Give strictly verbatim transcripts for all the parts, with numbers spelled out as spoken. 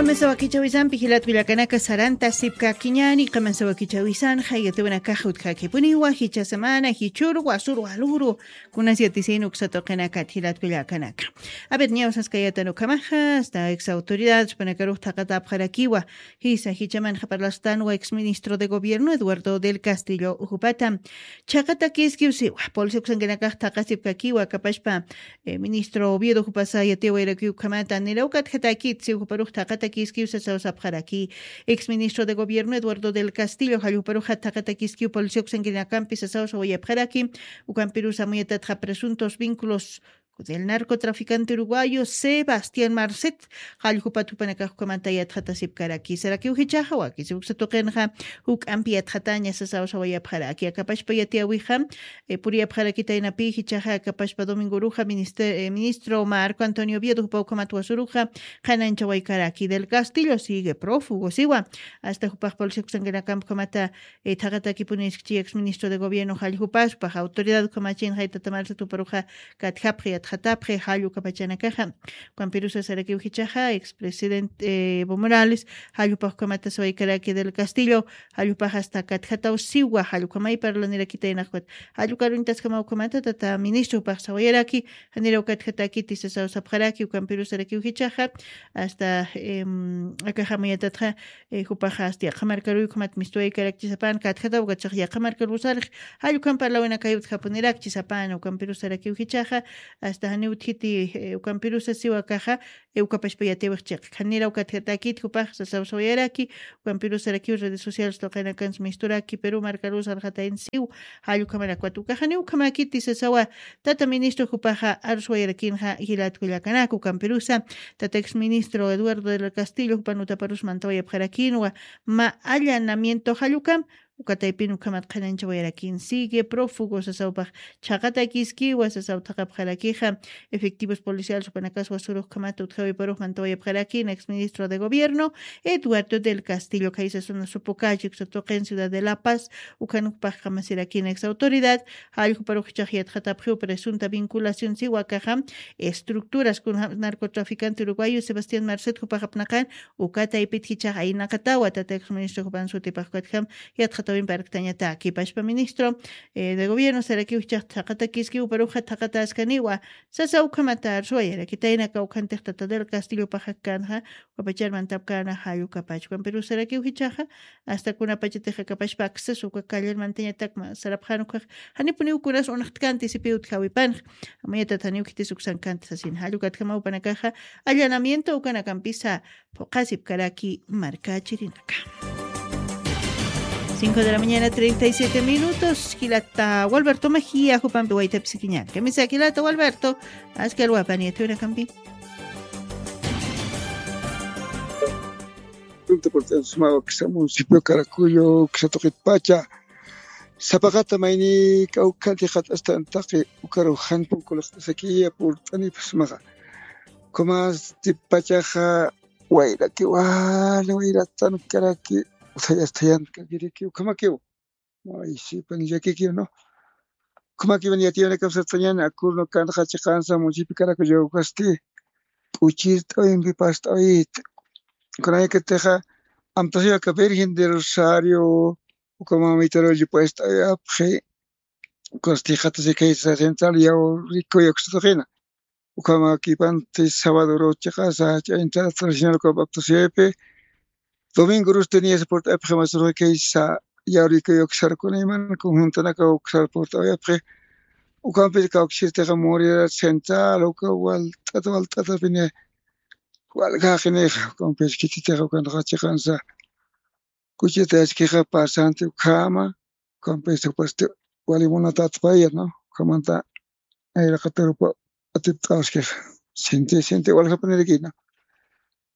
Qamasa wakichawisanpi jilat kullakanaka sarantasipkakiñäni, qamasa wakichawisanxa yatiwanakax utjakipuniwa, jichha semana, jichhüru, wasüru, walüru, kunas yatisin uksa tuqinakat jilat kullakanaka. A ver, ñawsaskayätan ukhamaxa, hasta ex autoridades jupanakarux thaqatapxarakiwa, jisa jichhamanxa parlastanwa ex ministro de gobierno Eduardo del Castillo jupata. Chhaqatakiskiw siwa, policía uksankanakax thaqasipkakiwa, akapachpa, eh, ministro Oviedo jupasa yatiyawayarakiw ukhamata, niraw katjatäkit siw juparux thaqatakiskiw sasaw sapxaraki. Ex ministro de gobierno Eduardo del Castillo, jall juparux thaqatakiskiw policía uksankanakampi sasaw sawayapxaraki, ukampirusa amuyatataxa presuntos vínculos del narcotraficante uruguayo Sebastián Marcet, jall jupat jupanakax ukhamata yatxatasipkaraki. Sarakiw jichhaxa, wakisiw uksa tuqinxa juk'ampi yatxataña sasaw sawayapxaraki. Akapachpa yatiyawixa, eh, puriyapxarakitaynapi jichhaxa, akapachpa domingoruxa ministe-, eh, ministro Marco Antonio Oviedo jupa ukhamat wasüruxa qhananchawaykaraki. Del Castillo sigue prófugo, siwa. Hasta jupax policía uksankanakampi ukhamata eh, thaqatakipuniskchi ex ministro de gobierno jall jupas, jupax autoridad ukhamachin jaytata Marcet juparuxa katjapxi, yatxatapxi, jall ukapachanakaxa. Ukampirusa sarakiw jichhaxa, ex presidente, eh, Evo Morales, jall jupax ukhamata sawaykaraki. Del Castillo, jall jupax hasta katjataw siwa, jall ukhamay parlanirakitaynax ukat. Jall ukaruñtaskamaw ukhamata tata ministro jupax sawayaraki, janiraw katjatäkiti sasaw sapxaraki, ukampirusa sarakiw jichhaxa, hasta, em, akax amuyatatxa, eh, jupaxa hasta yaqha markaruy ukhamat mistuwaykarakchi sapän, katjataw ukat yaqha markaruw sarix, jall ukham parlawinakay utjapunirakchi sapän, ukampirus sarakiw jichhaxa, hasta janiw utjiti, eh, ukampirusa siwa akaxa, eh, ukapachpa yatiwix chiq. Janiraw katjatäkit jupax sasaw sawayaraki, ukampirus sarakiw redes sociales tuqinakansa misturaki, Perú markaruw sarxatayn siw, jall ukhamanakwa ukax janiw ukhamäkiti sasawa, tata ministro jupaxa arsuwayarakinxa jilat kullakanaka, ukampirusa, tata ex ministro Eduardo del Castillo jupan utaparus mantawayapxarakinwa, mä allanamiento jall ukam, uka taypin ukhamat qhananchawayarakin, sigue prófugo sasaw jupax, chhaqatakiskiwa sasaw thaqapxarakixa, efectivos policiales jupanakas wasürux ukhamat utjawiparux mantawayapxarakin, ex ministro de gobierno, Eduardo del Castillo, khaysa zona Sopocachi uksa tuqin ciudad de La Paz, ukhan jupax kamasirakin ex autoridad, jall juparux jichhax yatxatapxiw presunta vinculación siwa akaxa, estructuras kun narcotraficante uruguayo Sebastián Marcet jupax apnaqan, uka taypit jichhax aynaqatawa, tata ex ministro jupan sutipax ukatjam yatxatawimpi arktañataki. Pachpa ministro, eh, de gobierno sarakiw jichhax thaqatakiskiw juparuxa thaqatäskaniwa, sasaw ukhamata arsuwayarakitaynaka, ukhantix tata del Castillo paxakkanxa, ukapachar mantapkana jall ukapach. Ukampirus sarakiw jichhaxa, hasta kunapachatixa akapachpa acceso uka callar mantañatakma sarapxän ukax, janipuniw kunas unxtkanti sipiw utjawipanx, amuyatat janiw khitis uksankanti sasin. Jall ukatjamaw jupanakaxa, allanamiento ukanakampisa phuqhasipkaraki markachirinaka. Cinco de la mañana, treinta y siete minutos. Jilata Walberto Mejía, jupampi waytapisikiñan. Kamisa jilata Walberto, askal wapan yathunakampi. Punto por sumawa kisa municipio Caracuyo, kisa tuqitpacha. Sapaqata mayni kawkhanti qat'astan taqi ukaru jan punkulaqtasakiya purt'anipasmaqa. Kumas tipachaxa wayraki wali wayratan karaki, uthayastayanta kakiriki ukhamakiw. Ay, sipan llakikiw, ¿no? Ukhamakiwan yatiyawinakapsatañan akurno kanxa chiqansa municipio Caracuyo ukasti, p'uchirt'awimpi past'awit. Kunayakatixa, amtasiyaka Virgen del Rosario, uka mamita rollo past'awiyapxi, ukasti qatasikhaysa central yawrikuy uksatuqina. Ukhamakipanti sábado chiqasa, ch'aynta tradicional uka baptisaypi, domingo rustiniya saporta apxi masurxi kaysa, yawrikuy uksarkuna iman conjuntanaka uksar porta uyapxi. Ukampis kawkisirtixa Morirad central, uka walt'ata walt'atapini walja jaqinixa, ukampis khichitixa ukanxa chiqansa. Kuchita askixa pasanti ukhama, ukampis upasti wali munatatpaya, ¿no? Ukhamanta nayraqatarupa atipt'awaskixa. Sinti, sinti waljapanirikina.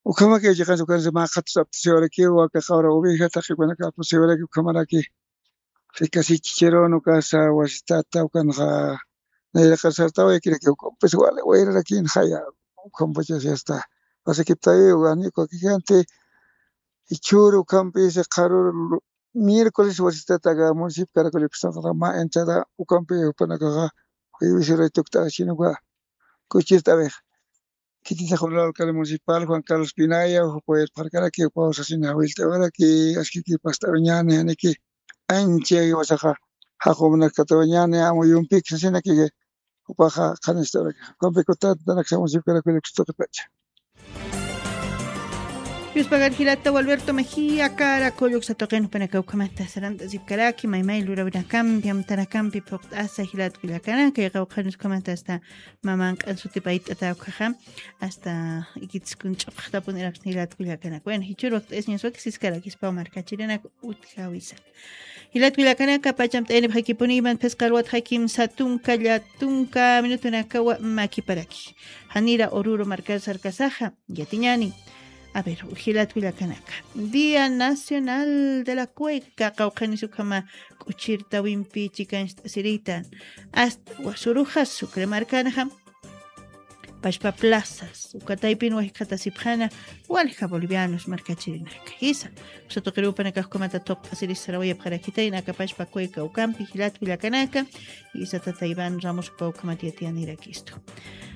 Ukhamaki chiqansa ukansa maqatus aptasiwarakiw, waka qawra oveja taqikunaqa aptasiwaraki ukhamaraki. Rikasichichirun ukasa wasitata ukanxa nayraqar sartawayakiraki, ukampis wali wayrarakin jaya, ukampachas yasta. Pasakiptawi, wani ukakikanti, jichhüru ukhampis qharüru miércoles wasitataqa municipio Caracolipis mä entrada ukampi jupanakaxa jueves urayta ukt'axchinuka kuchirt'awixa. Khititix uru alcalde municipal Juan Carlos Pinaya, jupaw irpxarkaraki, jupaw sasina jawillt'awaraki, askiki past'awiñäni, janiki ancha jiwasaxa jaqumnakatawañäni, amuyumpik sasinaki, jupaxa qhanist'awaraki. Jukampi kutat, tanak samusipkarakiraki tuqitacha. Yuspagar jilata Gualberto Mejía, kara kulluk satuqin jupanaka ukhamata sarant'asipkaraki, maymay lurawinakampi, amtanakampi phuqt'asa jilat kullakanaka, qawqhanis ukhamata hasta mamanq'an sutipayt'ata ukhaxa, hasta ikitskun ch'uqtapun iraksni jilat kullakanaka. Bueno, jichhür wakt'ayasiñas wakisiskarakispaw markachirinak utjawisa. Jilat kullakanaka, pachamt'ayanipxakipuni iman phisqa alwatxa kimsa tunka, lla tunka minutunakawa makiparaki. Janira Oruro markar sarkasaxa, yatiñäni. A ver, jilat kullakanaka. Día Nacional de la Cueca, qawqhanis ukhama k'uchirtawimpi chikancht'asiritan. Hasta wasuruxa Sucre markanxa, pachpa plazas, uka taypin wajkhatasipxäna, walja bolivianos markachirinaka. Jisa, usa tuqirupanakax ukhamata thuqt'asiris sarawayapxarakitayna aka pachpa cueca ukampi, jilat kullakanaka, jisa tata Iván Ramos jupaw ukhamat yatiyanirakïstu.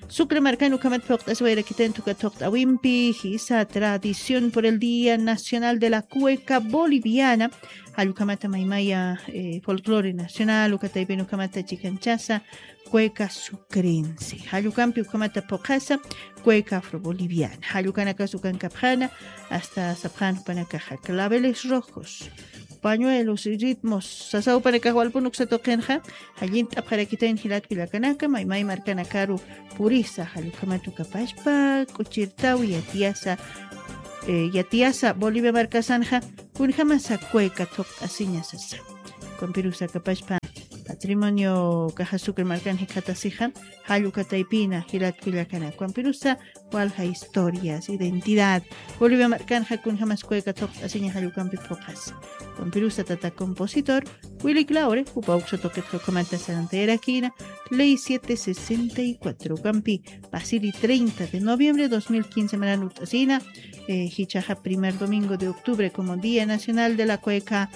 Sucre markan ukhamat phuqt'asiwayarakitan tuka thuqt'awimpi, jisa tradición por el Día Nacional de la Cueca Boliviana, jall ukhamata maymaya, eh, folclore nacional, uka taypin ukhamata chikanchasa, cueca sucrense. Jall ukampi ukhamata phuqhasa, cueca afroboliviana. Jall ukanakas ukankapxäna, hasta sapxän jupanakaxa, claveles rojos, pañuelos y ritmos, sasa jupanakax walpun uksa tuqinxa, jallint'apxarakitayn jilat kullakanaka, maymay markanakaru purisa, jall ukhamat uka pachpa k'uchirtaw yatiyasa, eh, yatiyasa Bolivia markasanxa, kunjamasa cueca thuqt'asiña sasa. Ukampirusa aka pachpa patrimonio caja Sucre markan jikxatasixa, jall uka taypina jilat kullakanaka. Ukampirusa walja historias, identidad. Bolivia markanxa kunjamas cueca thuqt'asiña jall ukampi phuqhasa. Ukampirusa tata compositor Willy Claure, jupaw uksa tuqitxa ukhamata sarantayarakïna, ley siete sesenta y cuatro ukampi, pasiri treinta de noviembre dos mil quince maran ut'asïna, eh, jichhaxa primer domingo de octubre como Día Nacional de la Cueca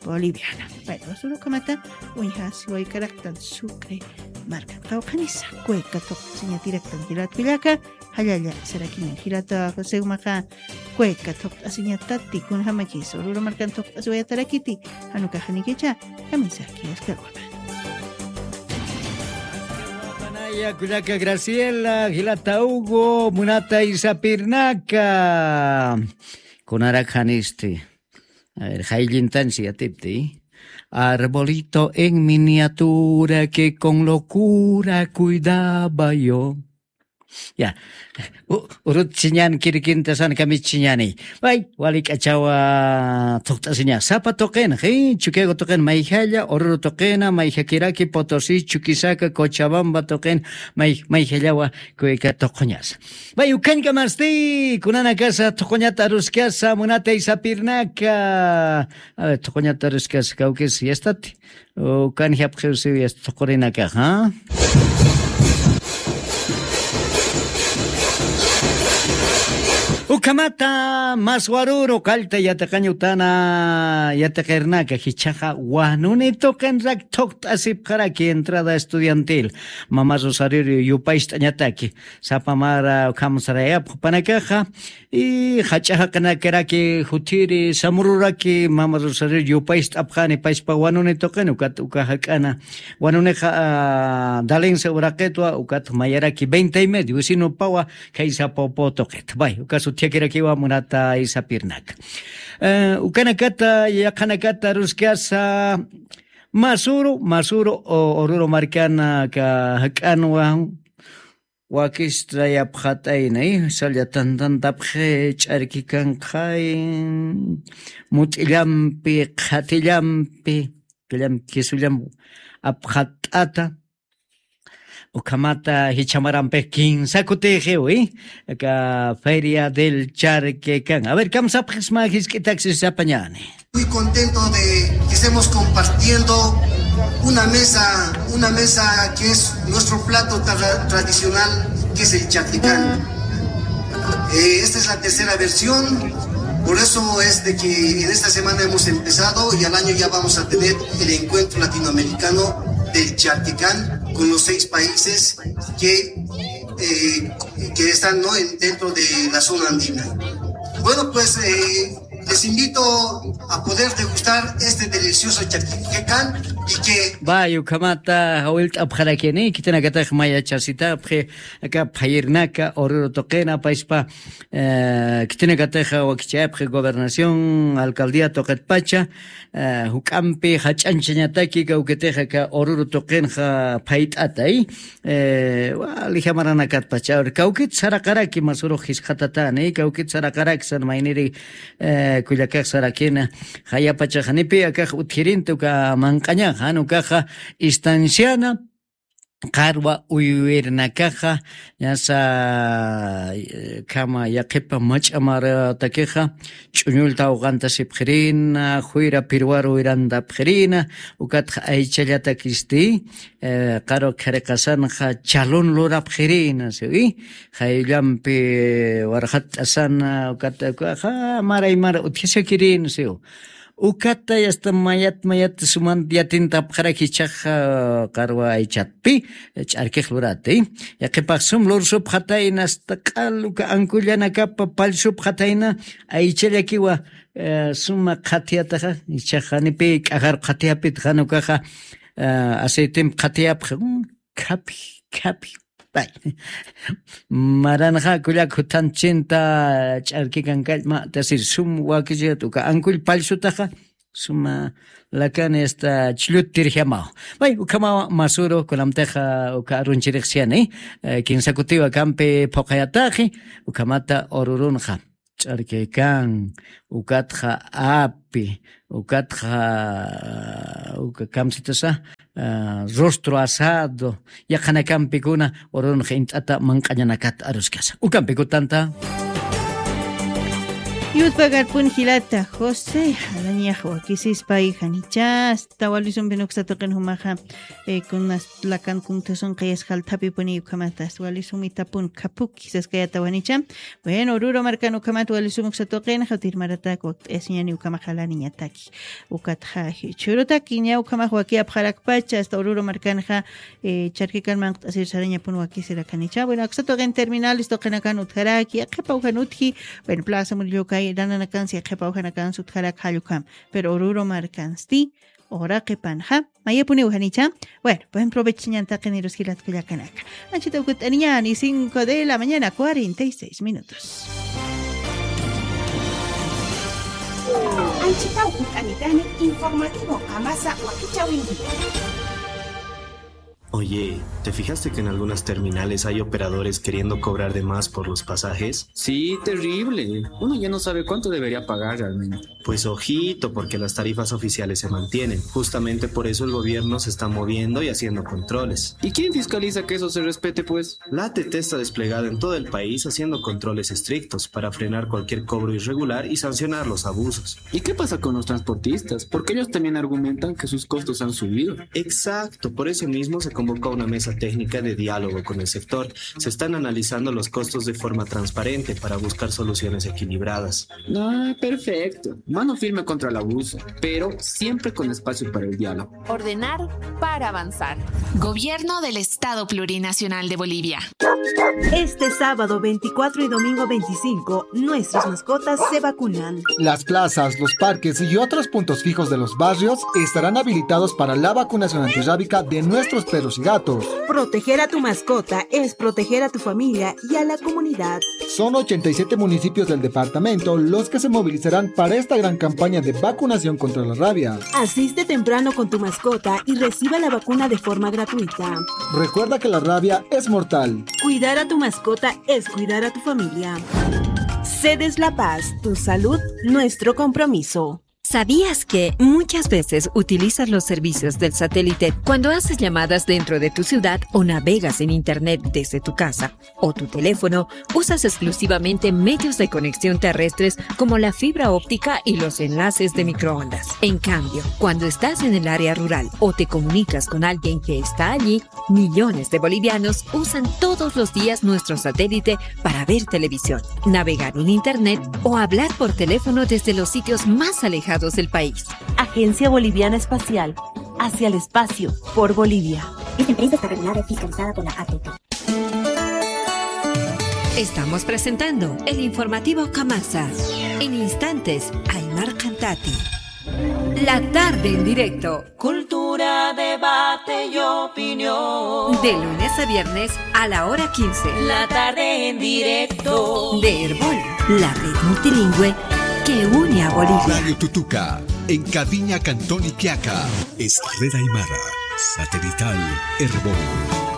Boliviana. Bueno, wasurukamata, uñjasiwaykaraktan Sucre markan qawqhanisa, cueca thuqt'asiñatiraktan jilat kullaka, jallalla sarakiñan jilata José umaxa, cueca thuqt'asiñatati, kunjamakis Oruro markan thuqt'asiwayatarakiti, jan ukax janikicha, kamisaki askarwama. Askarwapanaya kullaka Graciela, jilata Hugo, munata Isapirnaka. Kunarak janisti. A ver, jayllintansi yatipti. Arbolito en miniatura que con locura cuidaba yo. Ya. U-, urut chiñan kirikintasan kami chiñani. Bay, wali k'achawa thuqt'asiña. Sapa tuqin, ji, Chukiyawu tuqin mayjalla, Oruro tuqina, mayjakiraki, Potosí, Chuquisaca, Cochabamba tuqin, may-, mayjallawa, cueca tuquñasa. Bay, ukañkamasti, kunanakasa, tuquñata aruskasa, munata Isapirnaka. A ver, tuquñata aruskasa, kawkis, yastati. Ukan japqiwsiw yasta tuqurinakaxa. Ukhamata, mas waruru, qallta yatiqañ utana, yatiqirnaka, jichhaxa, wanuni tuqinrak thuqt'asipxaraki entrada estudiantil. Mama Rosario yupaycht'añataki. Sapa mara ukham sarayapxpanakaxa, y jach'a jaqinakaraki juthiri samururaki Mama Rosario yupaycht'apxani pachpa wanuni tuqin, ukat uka jak'ana wanunixa, ah, Dalense uraqitwa, ukat mayaraki veinte y medio, vecino pawa, khaysa popo tuqit. Bay, ukas utjakirakiwa munata Isapirnaka. Eh, ukanakata, yaqhanakata, ruskasa, masuru, masuru, o, Oruro markana ka jak'anwa, Wakistra yapxat'ayna, eh, salla tantantapxi, ch'arki kanqay, mut'illampi, qhatillampi, qhatillampi, kisullam apxat'ata, ukhamata jichha marampi kinsa kutixiw, eh, aka Feria del Charque kan. A ver, kamsapxisma jisk'itaksi sapañani. Muy contento de que estemos compartiendo una mesa, una mesa que es nuestro plato tra-, tradicional, que es el charquicán. Eh, esta es la tercera versión, por eso es de que en esta semana hemos empezado y al año ya vamos a tener el encuentro latinoamericano del charquicán con los seis países que eh, que están, ¿no? En- dentro de la zona andina. Bueno, pues eh, les invito a poder degustar este delicioso charquicán y que Vaya, ukhamata, jawillt'apxarakini, khitinakatix mayachasitapxi, aka phayirnaka, Oruro tuqina, payspa, eh, khitinakatix wakichayapxi gobernación, alcaldía tuqitpacha, eh, juk'ampi jach'añchañataki, kawkitix aka Oruro tuqinxa phayt'atay, eh, wali jamaranakatpacha, kawkit saraqaraki, masürux jisqatatani, kawkit saraqaraki, san mayniri, eh, kullakax sarakina, jayapachax janipi akax utjirinta uka manq'añaxa, jan ukaxa estanciana, qarwa uywirnakaxa, ñasa, eh, khama yaqhipa mach'a maratakixa, ch'uñullta awqantasipxirina, juyra pirwaru wirantapxirina, ukatxa aychallatakisti, eh, qarwa khariqasanxa chalun lurapxirina, siwi, jayllampi warxat t'asana, ukat, ukaxa, mara y mara utjasakirina, siw. Ukata yasta mayat mayat suman yatintapxaraki ichaxa qarwa aychatpi, ch'arkix lurati. Yaqhipax sum lursupxatayna, asta q'al uka ankullanakapa pallsupxatayna, aychallakiwa, eh, suma qhatiyataxa, ichaxa janipi k'ajar qhatiyapit jan ukaxa, eh, aceitemp qhatiyapxa, mm, khaphi, khaphi. Ay, maranxa kullak juthanchinta ch'arkikan kallma, tasir sum wakichat uka ankull pallsutaxa, suma lakani asta ch'llutirjamaw. Ay, ukhamawa masüru, kunamtixa uka arunchirix siyani, eh, kinsa kutiwa kampi phuqayataxi, ukhamata Orurunxa ch'arkikan, ukatxa api, ukatxa, uka kamsitasa, ah, rostro asado, yaqhanakampikuna Orurunxa int'ata manq'añanakat aruskasa. Ukampikutanta. Yutpagarpun jilata José, jalañax wakisispay janichasta, walisumpin uksa tuqin jumaxa, eh, kunas lakan kuntasun qayas jalthapipuni ukhamata, walisum itapun khapuki saskayata wanicha. Bueno, Oruro markan ukhamat walisum uksa tuqin, jawtir maratak wakt'ayasiñani ukhamax jalaniñataki. Ukatxa, churutaki ña ukhamax wakiyapxarakpacha, asta Oruro markanxa, eh, charkikan manq't'asir sarañapun wakisirakanicha. Bueno, aksa tuqin terminales tuqinakan utjaraki, yaqhipaw jan utji, bueno, Plaza Murillo kay, nananakansi yaqhipaw janakansi utjaraki jall ukham. Pero Oruro markansti, uraqipanxa, mayapuniw janicha. Bueno, buen provecho ñan taqinirus jilat kullakanaka. Anchita ukut'aniñani, cinco de la mañana, cuarenta y seis minutos. Anchita ukut'anitani, informativo qamasa wakichäwinki. Oye, ¿te fijaste que en algunas terminales hay operadores queriendo cobrar de más por los pasajes? Sí, terrible. Uno ya no sabe cuánto debería pagar realmente. Pues ojito, porque las tarifas oficiales se mantienen. Justamente por eso el gobierno se está moviendo y haciendo controles. ¿Y quién fiscaliza que eso se respete, pues? La A T T está desplegada en todo el país haciendo controles estrictos para frenar cualquier cobro irregular y sancionar los abusos. ¿Y qué pasa con los transportistas? Porque ellos también argumentan que sus costos han subido. Exacto, por eso mismo se convocó una mesa técnica de diálogo con el sector. Se están analizando los costos de forma transparente para buscar soluciones equilibradas. Ah, perfecto. Mano firme contra el abuso, pero siempre con espacio para el diálogo. Ordenar para avanzar. Gobierno del Estado Plurinacional de Bolivia. Este sábado veinticuatro y domingo veinticinco, nuestras mascotas se vacunan. Las plazas, los parques y otros puntos fijos de los barrios estarán habilitados para la vacunación antirrábica de nuestros perros y gatos. Proteger a tu mascota es proteger a tu familia y a la comunidad. Son ochenta y siete municipios del departamento los que se movilizarán para esta gran campaña de vacunación contra la rabia. Asiste temprano con tu mascota y reciba la vacuna de forma gratuita. Recuerda que la rabia es mortal. Cuidar a tu mascota es cuidar a tu familia. Cedes La Paz, tu salud, nuestro compromiso. ¿Sabías que muchas veces utilizas los servicios del satélite cuando haces llamadas dentro de tu ciudad o navegas en internet desde tu casa o tu teléfono? Usas exclusivamente medios de conexión terrestres como la fibra óptica y los enlaces de microondas. En cambio, cuando estás en el área rural o te comunicas con alguien que está allí, millones de bolivianos usan todos los días nuestro satélite para ver televisión, navegar en internet o hablar por teléfono desde los sitios más alejados del país. Agencia Boliviana Espacial, hacia el espacio, por Bolivia. Esta empresa está regulada y fiscalizada por la A T T. Estamos presentando el informativo Kamasa. En instantes, Aymar Cantati. La tarde en directo. Cultura, debate y opinión. De lunes a viernes a la hora quince. La tarde en directo. De Erbol, la red multilingüe que une a Bolivia. Radio Tutuca, en Caviña, Cantón Iquiaca. Es Red Aymara, satelital Erbol.